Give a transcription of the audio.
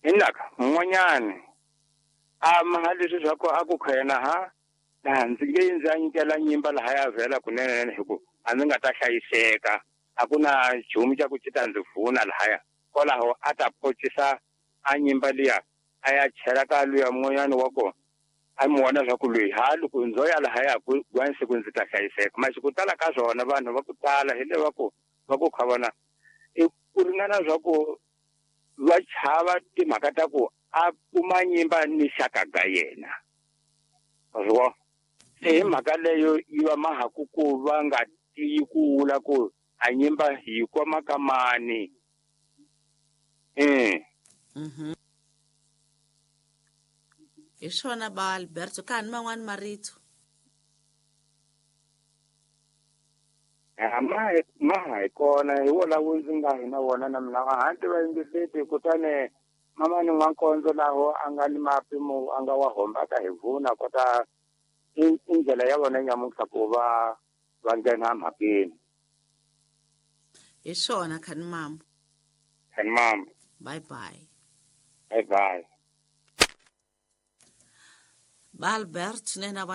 Hinaka mun'wanyani a maha leswi swa ku a ku khena ha laha ndzi nge ndzi ya nyikela nyimba lahaya vhela kunene hi ku a ndzi nga ta hlayiseka a ku na nchumu xa ku xi ta ndzi vuna lahaya kwalaho a ta pocisa a nyimba liya a ya chela ka luya mun'wanyani wa kona a mi vona swa ku loyi ha loko ndzo ya lahaya ku siku ndzi ta hlayiseka maxi ku tala ka swona vanhu va ku tala hi le va ku kha vona i ku ringana swa ku va chava timhaka ta ku a kuma nyimba ni xaka ga yena swo se hi mhaka leyo yi va mahaku ku va nga tiyi ku vula ku a nyimba hi koma ka mani. Hi swona ba Alberto ka ni man'wani marito. Ma hi kona hi wona wu ndzi nga hi na wona na mina hanti va yingiseti kutani mama ni n'wankondzo laho a nga ni mapimo a nga wa hombaka hi vuna kota i ndlela ya vona nyamuntlha ku va va nghena mhakeni. Hi swona khani mama. Khani mama. Bye bye. Bye bye. Ba Albert nena.